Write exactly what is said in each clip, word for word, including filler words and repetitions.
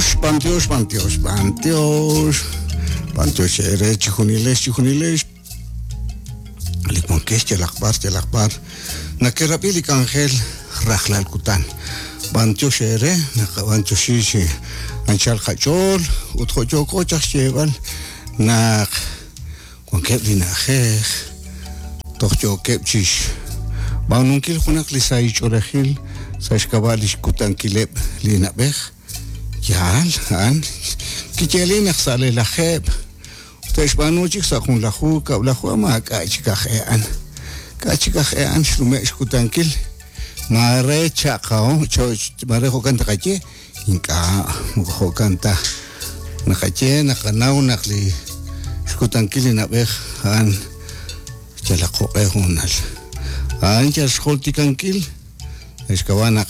B'antiox, b'antiox, b'antiox, b'antiox. B'antiox eere chijunilex, chijunilex. Li wankex yalaq b'ar, yalaq b'ar. Nakerab'i li k'anjel rajlal kutan. B'antiox eere, naqab'antioxi chi anchal qach'ool ut jo' yooko chaq xyeeb'al naq wankeb' li na'ajej toj yookeb' chix b'aanunkil junaq li sahil ch'oolejil sa' xk'ab'a' li xkutankileb' li na'b'ej. Yaal, a'an kiyeeli naq sa' li lajeeb' te'xb'aanu chik sa' junlaju kab'laju maak'a' chik aj e'an. K'a' chik aj e'an xnume' xkutankil. Maare chaqao, maare jo'kan taqaye, ink'a' moko jo'kan ta. Naqaye naqanaw naq li xkutankil li na'b'ej a'an yalaq jo'q'e hoonal. A'an yal xjultikankil xk'ab'a' naq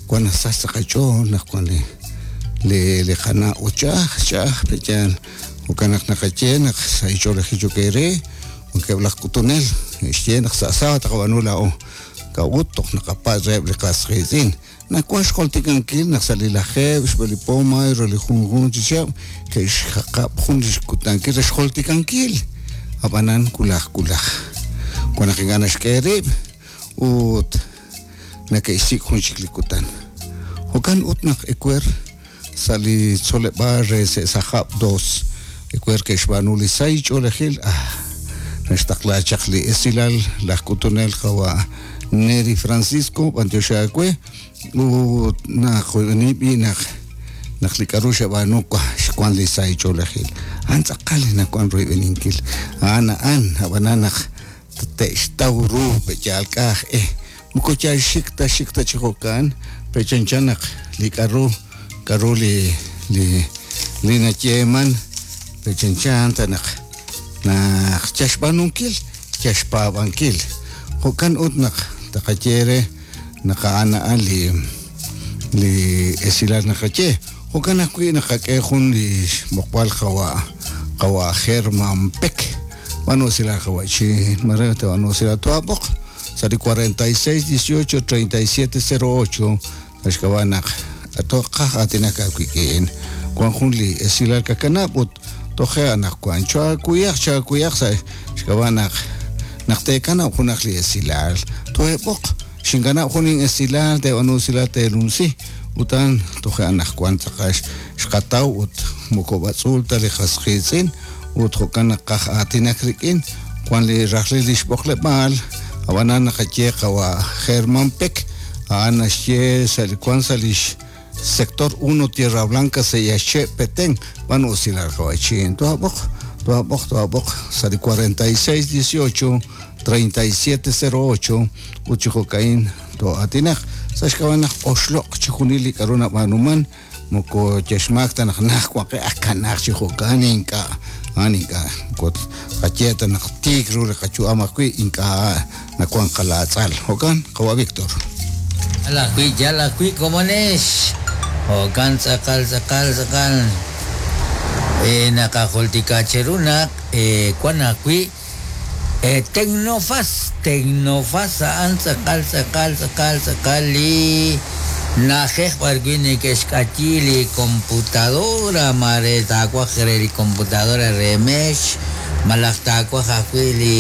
wan nasach sa' qach'ool naq wan li li li qana' ut ch'a'aj, ch'a'aj pe'yaal. Jo'kan naq naqaye naq sa' ich'oolejil chok eere, wankeb' laj k'utunel xye naq sa' sábado taqab'aanu laa'o. K'a'ut toj naqapatz' reheb' li qas qiitz'in. Nawan xjultikankil naq sa' li lajeeb' xb'e li po mayo re li junjunq chi chihab' ke'xjaqab' jun li xkutankil re xjultikankil. Ab'anan wulaj wulaj. Wan naq ink'a' naxk'e rib' ut nake'xsik' jun chik li kutan. Jo'kan ut naq ewer sa' li tzoleb'aal re Se'sajab' dos ewer ke'xb'aanu li sahil ch'oolejil. Ah, naxtaqla chaq li esilal laj k'utunel qawa' Neri Francisco b'antiox aawe ut naq b'i naq naq li k'a'ru xeb'aanu xwan li sahil ch'oolejil. A'an tz'aqal li nawan royb'eninkil. A'an a'an ab'anan naq te'xtaw ru pe'yaal k'aj eh moko yal xik ta xik ta chi jo'kan pe'chanchan naq li k'a'ru k'a'ru li li li nayeeman pe'chanchan ta naq naq yal xb'aanunkil yal xpaab'ankil. Jo'kan ut naq taqaye re naq a'an a'an li li esilal naqaye. Jo'kan ajwi' naqak'e jun li xb'oqb'al qawa' qawa' Germán Peck. B'aanu usilal qawa' chi mare te b'aanu usilal tuab'oq sa' li cuarenta y seis dieciocho treinta y siete cero ocho xk'ab'a' naq toqaj aatinak aawik'in. Wan jun li esilal kakanab' ut toje' anaqwan chaakuyaq chaakuyaq sa' xk'ab'a' naq naq teekanab' junaq li esilal toheb'oq xinkanab' jun esilal te b'aanu usilal teelunsi utan toje' anaqwan tz'aqal xqataw ut moko b'atz'uul ta li qas qiitz'in ut jo'kan naq qaj aatinak rik'in wan li rajlil li xb'oqleb'aal ab'anan naqaye qawa' Germán Peck a'an naxye sa' li wan sa' li sector uno Tierra Blanca Seyache Petén b'aanu usilal qawa' chin toab'oq toab'oq toab'oq sa' li cuarenta y seis dieciocho treinta y siete cero ocho ut chi jo'ka'in to'aatinaq sa' xk'ab'a' naq oxloq' chijunil li k'a'ru nab'aanuman moko yaxmaak ta naq naj waqe akanaq chi jo'kan ink'a' a'an ink'a' moko qaye ta naq tiik ru li qayu'am ajwi' ink'a' nawan qalaatz'al. Jo'kan qawa' Víctor. Yal ajwi', yal ajwi' komonex. Jo'kan tz'aqal, tz'aqal, tz'aqal. Eh, naqajultika cheru naq, eh, wan ajwi', eh, Tecnofaz, Tecnofaz a'an tz'aqal, tz'aqal, tz'aqal, tz'aqal li na'ajej b'ar wi' neke'xk'ayi li computadora, mare taawaj re li computadora re mex, malaj taawaj ajwi' li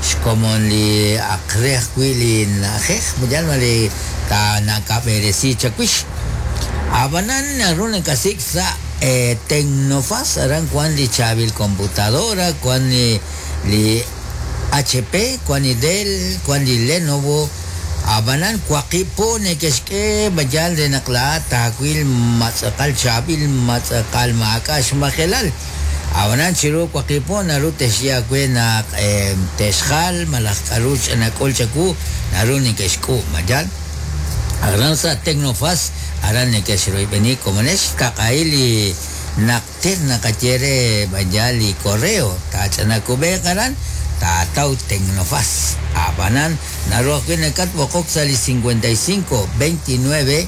xkomon li aqre ajwi' li na'ajej, yal ma li ta nakab'eresi chawix. Ab'anan naru nakasik' sa', eh, Tecnofaz, aran wan li chaab'il computadora, wan li, li H P, wan li Dell, wan li Lenovo. Ab'anan waqib' po neke'xk'e bayal re naq laa'at taawil matz'aqal chaab'il, matz'aqal maak'a' xmajelal. Ab'anan chiru waqib' po naru texye aawe naq, eh, texjal malaj k'a'ru nak'ul chawu naru neke'xk'uub' mayal. Aran sa' Tecnofaz, aran neke'xroyb'eni komonex taq'ahil li naqter naqaye re bayal li correo taach'anakub'eeq aran taataw Tecnofaz. Ab'anan naru ajwi' nakatb'oqok sa' li cincuenta y cinco veintinueve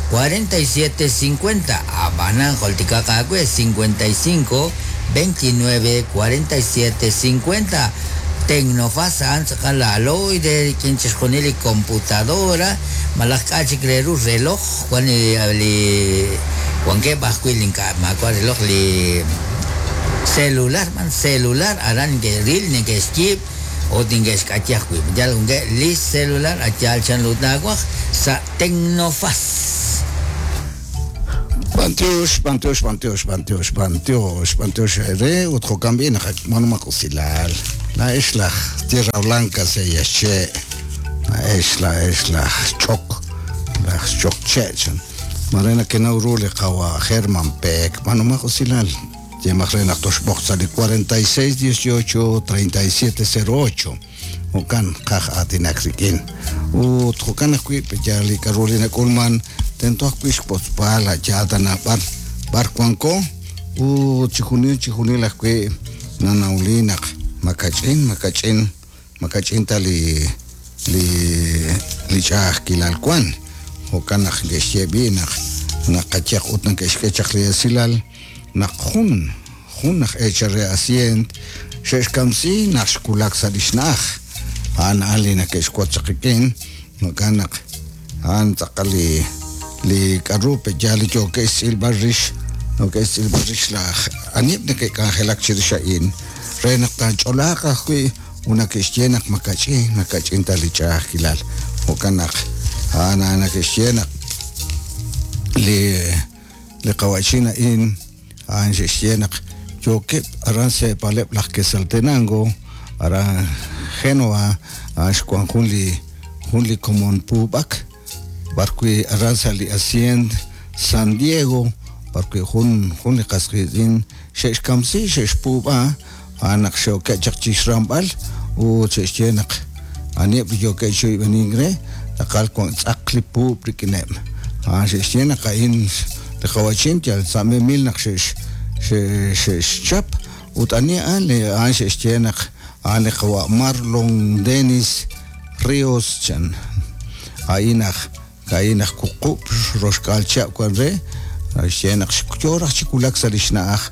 cuarenta y siete cincuenta. Ab'anan joltikaq aawe cincuenta y cinco veintinueve cuarenta y siete cincuenta. Tecnofaz a'an tz'aqal aloy de rik'in chixjunil li computadora malaj k'a' chik re ru reloj wan li, li Wankeb' ajwi' li ink'a' maawa' reloj li celular man celular aran neke'ril neke'xyiib' ut neke'xk'ayi ajwi'. Yal wankeb' li celular a yaal chanru taawaj sa' Tecnofaz. B'antiox, b'antiox, b'antiox, b'antiox, b'antiox, b'antiox re ut jo'kan b'i naq manumaq usilal. La'ex laj Tierra Blanca seyaxche', la'ex la'ex laj ch'ok, laj ch'ok che' chan. Mare nakenaw ru li qawa Germán Peck, manumaq usilal. Yemaq re naq toxb'oq sa' li cuarenta y seis dieciocho treinta y siete cero ocho. Jo'kan qaj aatinak rik'in. Ut jo'kan ajwi' yal li k'aru li nak'ulman tento ajwi' xpotzb'al a yaal tana b'ar b'ar wanko ut chijunil chijunil ajwi' nanawli naq makach'in makach'in makach'in ta li li li ch'a'ajkilal wan. Jo'kan naq ke'xye b'i naq naqayaq ut neke'xk'e chaq li esilal naq jun jun aj eechal re asient xe'xkamsi naq xkulak sa' li xna'aj. A'an a'an li neke'xwotz chaq rik'in. Jo'kan naq a'an tz'aqal li li k'aru pe yaal li yookeb' xtz'ilb'al rix, yookeb' xtz'ilb'al rix laj anib' neke'k'anjelak chirix a'in re naq taach'olaaq ajwi' ut neke'xye naq makach'in, makach'in ta li ch'a'ajkilal. Jo'kan naq a'an a'an neke'xye naq li li qawa'chin a'in a'an xe'xye naq yookeb' aran se'paleb' laj Quetzaltenango, aran Genoa, a'an xwan jun li jun li komon puub'ak b'ar wi' aran sa' li Hacienda San Diego, b'ar wi' jun jun li qas qiitz'in xe'xkamsi xe'xpuub'a a'an naq xe'okeb' chaq chixramb'al ut xe'xye naq aniheb' li yookeb' chi re tz'aqal wan tz'aq li puub' rik'ineb'. A'an xe'xye naq a'in li qawa'chin yal sa' memil naq xe'x xe'xchap ut ani a'an li a'an xe'xye naq a'an li qawa' Marlon Dennis Ríos chan. A'in aj a'in aj wuqub' roxk'aal chihab' wan re xye naq yo raj chi wulak sa' li xna'aj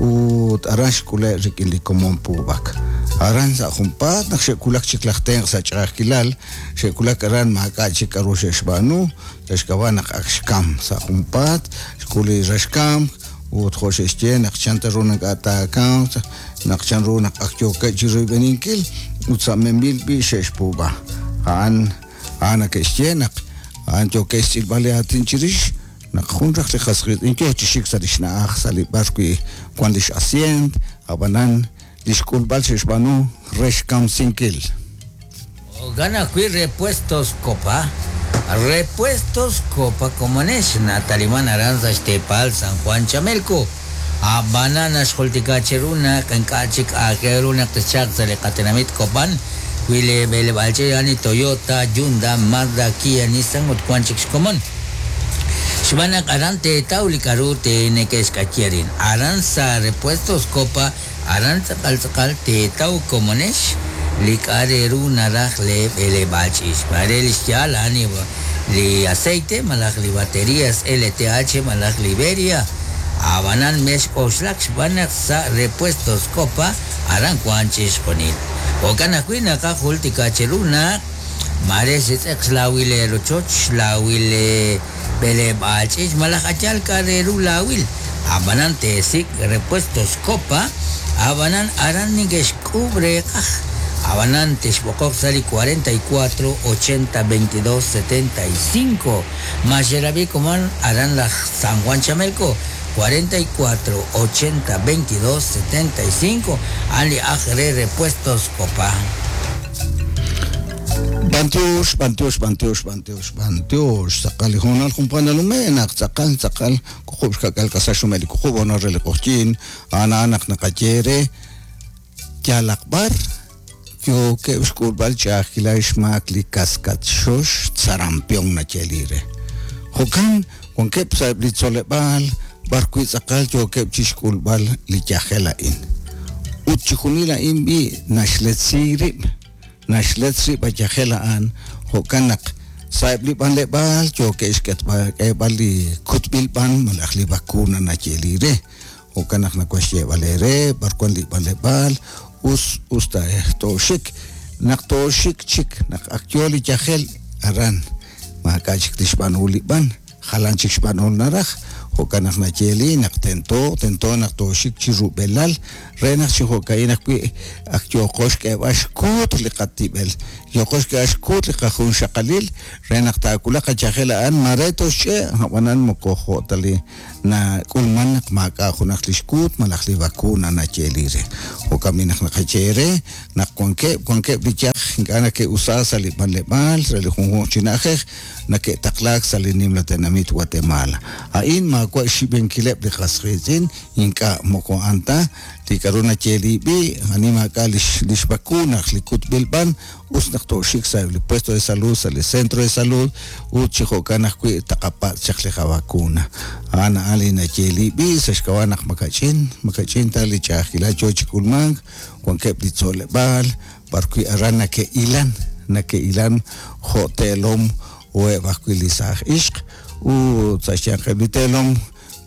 ut aran xk'ule' rik'in li komon puub'ak. Aran sa' junpaat naq xe'wulak chik laj tenq' sa' ch'a'ajkilal, xe'wulak aran maak'a' chik k'aru xe'xb'aanu, xe'xk'ab'a' naq ak xkam sa' junpaat, xk'ul li raxkamk ut jo' xe'xye naq chan ta ru ink'a' taakamq, naq chan ru naq ak yookeb' chi royb'eninkil ut sa' memil b'i xe'xpuub'a. A'an a'an neke'xye naq a'an yookeb' xtz'ilb'al li aatin chirix naq jun raj li qas qiitz'in yoo chi xik sa' li xna'aj sa' li b'ar wi' wan li x'asient, ab'anan li xk'ulb'al xe'xb'aanu re xkamsinkil. Jo'kan ajwi' Repuestos Copa, Repuestos Copa komonex nataliman aran sa' xteepal San Juan Chamelco. Ab'anan naxjultika cheru naq ink'a' chik aajel ru naq texchaq sa' li qatenamit Copan wi li b'eleb'aal ch'iich' a'an li Toyota, Hyundai, Mazda, Kia, Nissan ut wan chik xkomon. Xb'aan naq aran teetaw li k'aru neke'xk'ayi arin. Aran sa' Repuestos Copa, aran tz'aqal tz'aqal teetaw komonex li k'a' re ru naraj le b'eleb'aal ch'iich'. Mare li xyaal a'an li aceite malaj li baterías L T H malaj Liberia. Ab'anan mex k'oxlak xb'aan naq sa' Repuestos Copa aran wan chixjunil. Jo'kan ajwi' naqajultika cheru naq mare xetz'eq xlawil le rochoch, xlawil le b'eleb'aal ch'iich' malaj ayal k'a' re ru lawil. Ab'anan teesik' Repuestos Copa, ab'anan aran neke'xk'uub' reeqaj. Ab'anan texb'oqoq sa' li cuarenta y cuatro ochenta veintidós setenta y cinco. Maxerab'i komon aran laj San Juan Chamelco cuarenta y cuatro ochenta veintidós setenta y cinco a'an li aj re Repuestos Copa. B'antiox, b'antiox, b'antiox, b'antiox, b'antiox. Tz'aqal li hoonal junpaan nalume' naq tz'aqal, tz'aqal wuqub' xka'k'aal k'asal xumel li wuqub' honor re li q'oqyink. A'an a'an naq naqaye re yalaq b'ar yookeb' xk'ulb'al ch'a'ajkilal xmaak li kaskatxox sarampion nayeeli re. Jo'kan wankeb' sa'eb' li tzoleb'aal b'ar wi' tz'aqal yookeb' chixk'ulb'al li yajel a'in. Ut chijunil a'in b'i naxletzi rib', naxletz rib' a yajel a'an, jo'kan naq sa'eb' li b'anleb'aal yookeb' xk'etb'al li kutb'il b'an malaj li vacuna nayeeli re. Jo'kan naq nawaxyeeb'al re b'ar wan li b'anleb'aal us us ta tooxik, naq tooxik chik naq ak yo li yajel aran maak'a' chik tixb'aanu li b'an, jalan chik xb'aanu naraj Jo'kan naq nayeeli naq tento tento naq tooxik chi rub'elal re naq chi jo'ka'in ajwi' ak yooqo xk'eeb'al xkuut li qatib'el, yooqo xk'eeb'al xkuut li qajunxaqalil re naq taawulaq qachajel a'an mare toxch'e' ab'anan moko jo' ta li nak'ulman naq maak'a' junaq li xkuut malaj li vacuna nayeeli re. Jo'kan b'i naq naqaye re naq wankeb' wankeb' li yaj ink'a' nake'usa sa' li b'anleb'aal re li junjunq chi na'ajej nake'taqlaak sa' li nimla tenamit Guatemala. A'in maawa' xxib'enkileb' li qas qiitz'in ink'a' moko a'an ta li k'aru nayeeli b'i ani maak'a' lix lix vacuna li kutb'il b'an us naq tooxik sa' li puesto de salud sa' li centro de salud ut chi jo'kan ajwi' taqapatz' chaq li qavacuna. A'an a'an li nayeeli b'i sa' xk'ab'a' naq makach'in makach'in ta li ch'a'ajkilal yoo chi k'ulmank wankeb' li tzoleb'aal b'arwi' aran nake'ilan nake'ilan jo' teelom o eb' ajwi' li saaj ixq ut sa' xyanqeb' li teelom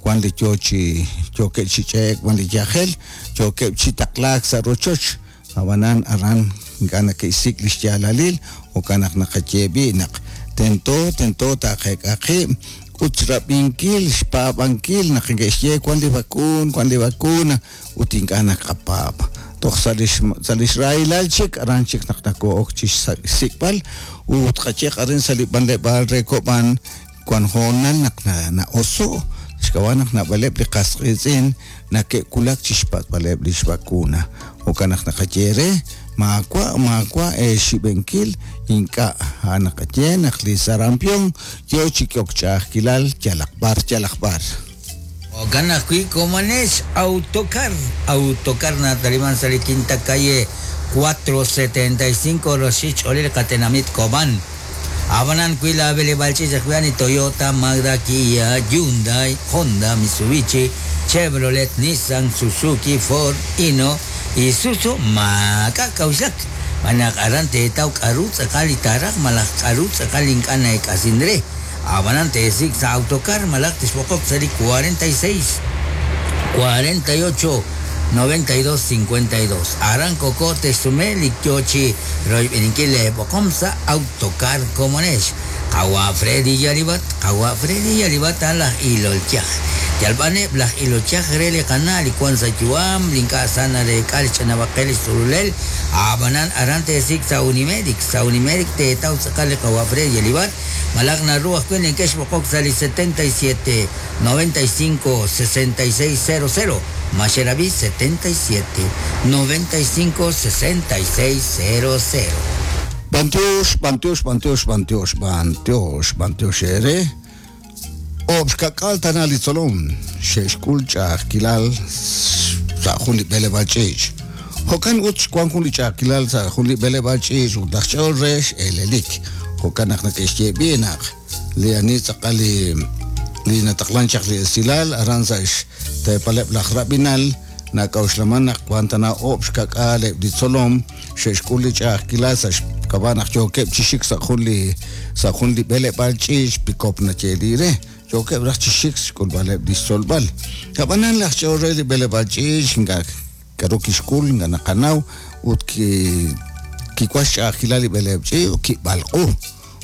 wan li yoo chi yookeb' chi ch'eek wan li yajel yookeb' chi taqlaak sa' rochoch ab'anan aran ink'a' nake'xsik' li xyaalalil jo'kan naq naqaye b'i naq tento tento taaqeek'a qib' ut xrab'inkil xpaab'ankil naq neke'xye wan li vacuun wan li vacuna ut ink'a' naqapaab' toj sa' lix sa' lix rahilal chik aran chik naq nako'ok chi xsik'b'al ut qayeq arin sa' li b'anleb'aal re Kob'an wan hoonal naq na'oso' xk'ab'a' naq naab'aleb' li qas qiitz'in nake'wulak chi xpatz'b'aleb' lix vacuna. Jo'kan naq naqaye re maawa' maawa' xib'enkil ink'a' a'an naqaye naq li sarampión yoo chi k'ok ch'a'ajkilal yalaq b'ar yalaq b'ar. Jo'kan ajwi' komonex Autocar Autocar nataliman sa' li quinta calle cuatro setenta y cinco roxich olil qatenamit Kob'an. Abanan wi la b'eleb'aal ch'iich ajwi' Toyota, Mazda, Kia, Hyundai, Honda, Mitsubishi, Chevrolet, Nissan, Suzuki, Ford, Hino, Isuzu, maak'a' k'a'uxlak. Manaq aran teetaw k'aru tz'aqal li taaraj malaj k'aru tz'aqal ink'a' na'ek'asin re. Abanan teesik' sa' Autocar malaj tixb'oqok sa' li cuarenta y seis, cuarenta y ocho, noventa y dos, cincuenta y dos. Aran koko texsume li yoo chi royb'eninkil le b'oqom sa' Autocar komonex. Qawa Freddy Yalibat, qawa Freddy Yalibat laj ilolchaj. Yalb'aneb' laj ilolchaj re li qana' li wan sa' yu'am, li ink'a' sa nareek'a li ch'anab'aqel li xtz'ululel. Ab'anan aran teesik' sa' Unimedic, sa' Unimedic teetaw tz'aqal li qawa Freddy Yalibat. Malaj naru ajwi' neke'xb'oqok sa' li setenta y siete, noventa y cinco, sesenta y seis, cero cero. Macherabi setenta y siete, noventa y cinco, sesenta y seis, cero cero. Bantiox, bantiox, bantiox, bantiox, bantiox, bantiox ere. Obxkak'al tana li tzolom, xe'xk'ul ch'a'ajkilal sa' jun li b'eleb'aal ch'iich'. Jo'kan ut xwan jun li ch'a'ajkilal sa' jun li b'eleb'aal ch'iich' ut laj ch'ool re x'elelik. Jo'kan naq neke'xye b'i naq li ani tz'aqal li li nataqlan chaq li esilal aran sa' xteepaleb' laj Rabinal nak'a'uxlaman naq wan tana oob' xkak'aal eb' li tzolom xe'xk'ul li ch'a'ajkilal sa' xk'ab'a' naq yookeb' chi xik sa' jun li sa' jun li b'eleb'aal ch'iich' pikop nayeeli re. Yookeb' raj chi xik xk'ulb'aleb' li xtzolb'al. Ab'anan laj ch'ool re li b'eleb'aal ch'iich' ink'a' k'aru kixk'ul ink'a' naqanaw ut ki kiwan xch'a'ajkilal li b'eleb' ch'iich' kib'alq'u.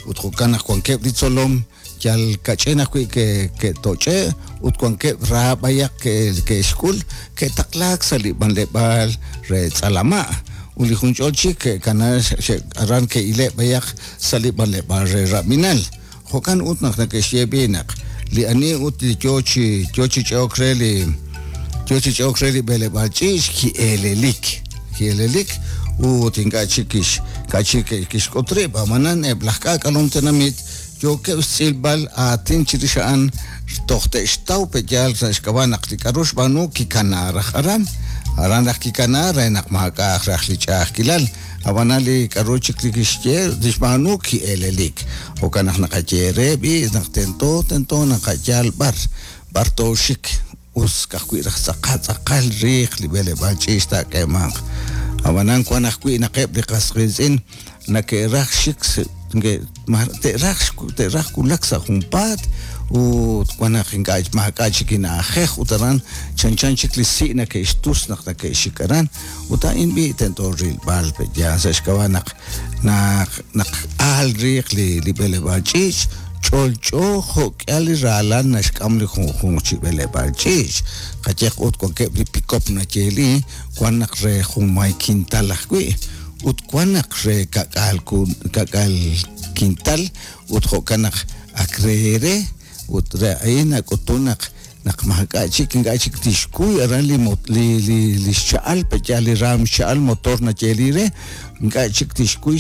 Ut jo'kan naq wankeb' li tzolom yal kach'in ajwi' ke ke'toch'e' ut wankeb' raab'ayaq ke ke'xk'ul ke'taqlaak sa' li b'anleb'aal re tz'alama' ut li jun ch'ol chik ke'kana aran ke'ileb' b'ayaq sa' li b'anleb'aal re Rabinal. Jo'kan ut naq neke'xye b'i naq li ani ut li yoo chi yoo chi ch'ook re li yoo chi ch'ook re li b'eleb'aal ch'iich' ki'elelik ki'elelik ut ink'a' chik kix ink'a' chik kixk'ut rib' ab'anan eb' laj k'aak'alom tenamit yookeb' xtz'ilb'al aatin chirix a'an toj te'xtaw pe'yaal sa' xk'ab'a' naq li k'aru xb'aanu kikana raj aran aran raj kikana re naq maak'a' raj li ch'a'ajkilal ab'anan li k'aru chik li kixye li xb'aanu ki'elelik. Jo'kan naq naqaye re b'i naq tento tento naqayal b'ar b'ar tooxik us ka'ajwi' raj tz'aqal tz'aqal riiq li b'eleb'aal ch'iich' taak'eemanq. Ab'anan wan ajwi' naq eb' li qas qiitz'in nake'raj xik te'raj te'raj wulak sa' junpaat ut wan naq ink'a' maak'a' chik ina'ajej ut aran chanchan chik li si' nake'xtus naq nake'xik aran ut a'in b'i tento rilb'al pe'yaal sa' xk'ab'a' naq naq naq aal riiq li li b'eleb'aal ch'iich' Ch'olch'o jo'k'ihal li raalal naxk'am li junjunq chi b'eleb'aal ch'iich'. Qayehaq ut wankeb' li pikop nayeeli, wan naq re junmay kintal ajwi', ut wan naq re ka'k'aal ka'k'aal kintal, ut jo'kan naq ak re re, ut re a'in nak'utun naq naq maak'a' chik ink'a' chik tixkuy aran li li li li xcha'al pe'yaal li raam xcha'al motor nayeeli re, ink'a' chik tixkuy.